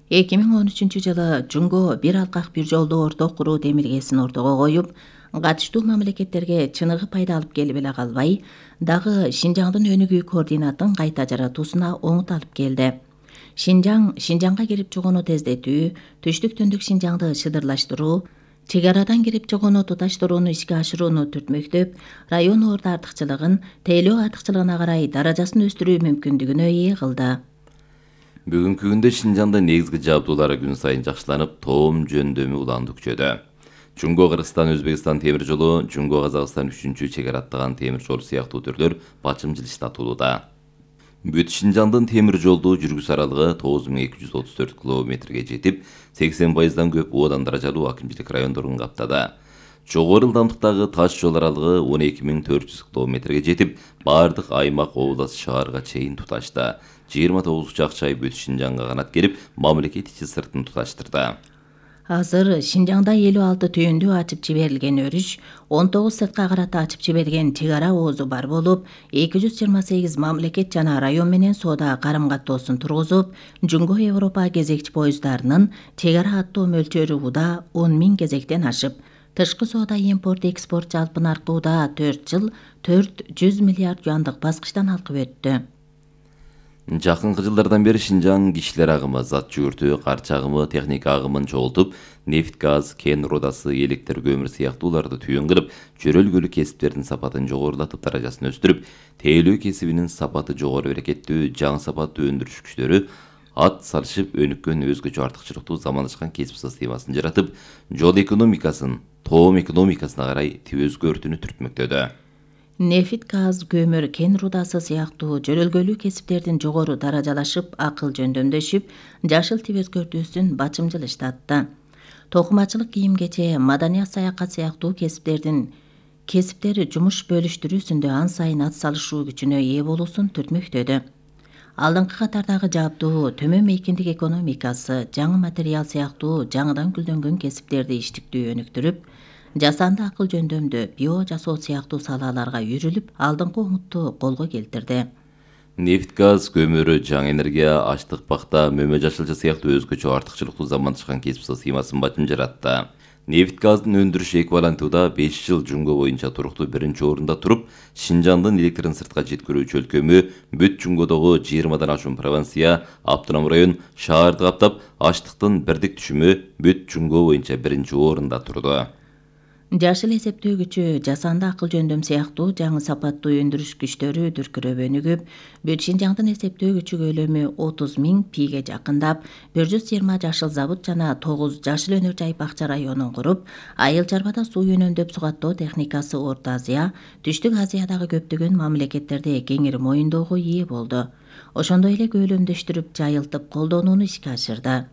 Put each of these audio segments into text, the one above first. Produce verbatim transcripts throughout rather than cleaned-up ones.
эки миң он үчүнчү жылы Жунго бир алкак бир жолдуу орток куруу демилгесин ортого коюп, катыштуу мамлекеттерге чыныгы пайда алып келип эле калбай, дагы Шинжаңдын өнүгүү координатын кайта жаратуусуна оңут алып келди. Шинжаң Шинжаңга кирип чыгууну тездетүү, түштүк-түндүк Шинжаңды шыдырлаштыруу, чек арадан кирип чыгууну туташтырууну ишке ашырууну түртмөктөп, район орду артыкчылыгын тейлөө артыкчылыгына карай даражасын өстүрүү мүмкүндүгүнө ээ кылды. Бүгүнкү күндө Шинжаңдын негизги жабдуулары күн сайын жакшыланып, тоом жөндөмү уланды күчөдө. Жунго Кыргызстан Өзбекстан темир жолу, Жунго Казакстан үчүнчү чек ара аттаган темир жол сыяктуу түрлөр бачымчыл иштатылууда. Бүт Шинжаңдын темир жолдуу жүргүс аралыгы тогуз миң эки жүз отуз төрт километрге жетип, сексен пайыздан көп оодан даражалуу акимчилик райондорун каптады. Жогору ылдамдыктагы таш жол аралыгы он эки миң төрт жүз километрге жетип, бардык аймак, область, шаарга чейин туташты. жыйырма тогуз учак-чай бүт Шинжаңга канат керип, мамлекет ичи сыртын туташтырды. Азыр Шинжаңда элүү алты түйүндүү ачып жиберилген өрүш, он тогуз сыртка карата ачып жиберген чек ара оозу бар болуп, эки жүз жыйырма сегиз мамлекет жана район менен соода карым-каттоосун тургузуп, Жунго Европа кезекчи поезддарынын чек ара аттоо мөлчөрү уда он миң кезектен ашып, тышкы соода импорт-экспорт жалпы наркы уда төрт жыл төрт жүз миллиард юандык баскычтан алкып өттү. Жакынкы жылдардан бери Шинжаң кишилер агымы, зат жүгүртүү, карчы агымы, техника агымын чогултуп, нефть, газ, кен рудасы, электр, көмүр сыяктууларды түйүн кылып, жөрөлгөлүк кесиптердин сапатын жогорулатып, даражасын өстүрүп, тейлөө кесибинин сапаты жогору берекеттүү, жаңы сапаттуу өндүрүш күчтөрү ат салышып өнүккөн өзгөчө артыкчылыктуу заманашкан кесип системасын жаратып, жол экономикасын тоом экономикасына карай өзгөртүүнү түртмөктөдө. Нефть, газ, көмүр, кен рудасы сыяктуу жөрөлгөлүү кесиптердин жогору даражалашып, акыл жөндөмдөшүп, жашыл тип өзгөртүүсүн бачымчыл иштатты. Токумачылык, кийим-кече, маданият, саякат сыяктуу кесиптердин кесиптери жумуш бөлүштүрүүсүндө ан сайын ат салышуу күчүнө ээ болуусун түртмөктөдү. Алдыңкы катардагы жабдуу, төмөн мейкиндик экономикасы, жаңы материал сыяктуу жаңыдан гүлдөнгөн кесиптерди иштиктүү өнүктүрүп, жасанды акыл жөндөмдө био жасоо сыяктуу салаларга үйрүлүп, алдыңкы оңутту колго келтирди. Нефть, газ, көмүр, жаңы энергия, ачлык, пахта, мөмө жашылча сыяктуу өзгөчө артыкчылыктуу заманашкан кесип системасын бачым жаратты. Нефть, газдын өндүрүш эквивалентуда беш жыл Жунго боюнча туруктуу биринчи орунда туруп, Шинжаңдын электрин сыртка жеткирүүчү өлкөмү бүт Жунгодогу жыйырмадан ашуун провинция, автоном район, шаарды каптап, ачлыктын бирдик түшүмү бүт Жунго боюнча биринчи орунда турду. Жашыл эсептөө күчү, жасанды акыл жөндөм сыяктуу жаңы сапаттуу өндүрүш күчтөрү дүркүрөп өнүгүп, бүт Шинжаңдын эсептөө күчү көлөмү отуз миң пиге жакындап, бир жүз жыйырма жашыл завод жана тогуз жашыл өнөр жай бакча районун куруп, айыл чарбада суу үнөмдөп сугаттоо техникасы Орто Азия, Түштүк Азиядагы көптөгөн мамлекеттерде кеңири моюндоого ээ болду. Ошондой эле көлөмдөштүрүп, жайылтып колдонууну ишке ашырды.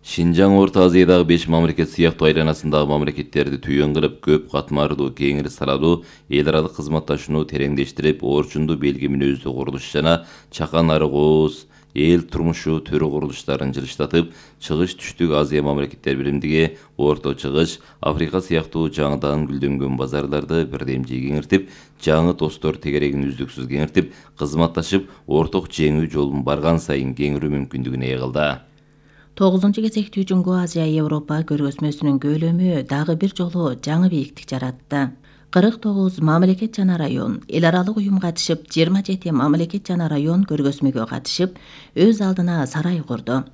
Шинжаң Орто Азиядагы беш мамлекет сыяктуу айланасындагы мамлекеттерди түйүн кылып, көп катмардуу, кеңири салалуу эл аралык кызматташууну тереңдештирип, орчундуу белги мүнөздүү курулуш жана чакан ары кооз эл турмушу төрү курулуштарын жылыштатып, Чыгыш Түштүк Азия мамлекеттер биримдиги, Орто Чыгыш, Африка сыяктуу жаңыдан гүлдөнгөн базарларды бирдемжий кеңиртип, жаңы достор тегерегин үздүксүз кеңиртип, кызматташып, орток жеңүү жолун барган сайын кеңирүү мүмкүндүгүнө ээ кылды. тогузунчу кезектүү Жунго Азия Европа көргөзмөсүнүн көлөмү дагы бир жолу жаңы бийиктик жаратты. кырк тогуз мамлекет жана район эл аралык уюм катышып, жыйырма жети мамлекет жана район көргөзмөгө катышып, өз алдына сарай курду.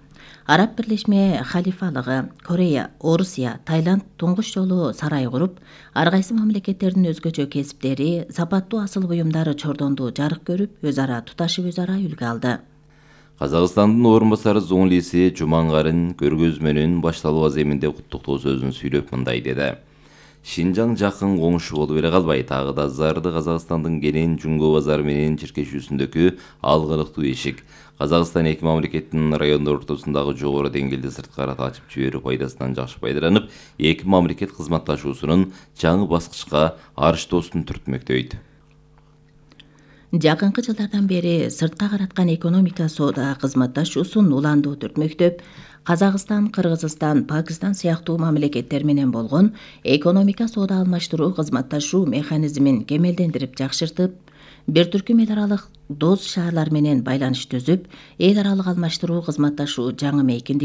Араб Бирлешме Халифалыгы, Корея, Орусия, Таиланд туңгуч жолу сарай куруп, ар кайсы мамлекеттердин өзгөчө кесиптери, сапаттуу асыл буюмдары чордондуу жарык көрүп, өз ара туташып, өз ара үлгү алды. Казакстандын орун басары Зоңлиси Жумангарын көргөзмөнүн башталуу аземинде куттуктоо сөзүн сүйлөп мындай деди. Шинжаң жакын коңшу болуп эле калбай, тагы да зарды Казакстандын кенен Жунго базары менен чиркешүүсүндөгү алгылыктуу эшик. Казакстан эки мамлекеттин райондор ортосундагы жогору деңгээлде сырткы карата ачып жиберүү пайдасынан жакшы пайдаланып, эки мамлекет кызматташуусунун жаңы баскычка арыштоосун түртмөктөйт. Жакынкы жылдардан бери сыртка караткан экономика соода кызматташуусун уландуу түртмөктөп, Казакстан, Кыргызстан, Пакистан сыяктуу мамлекеттер менен болгон экономика соода алмаштыруу кызматташуу механизмин кемелдендирип жакшыртып, бир түркүм эл аралык дос шаарлар менен байланыш түзүп, эл аралык алмаштыруу кызматташуу жаңы мейкиндик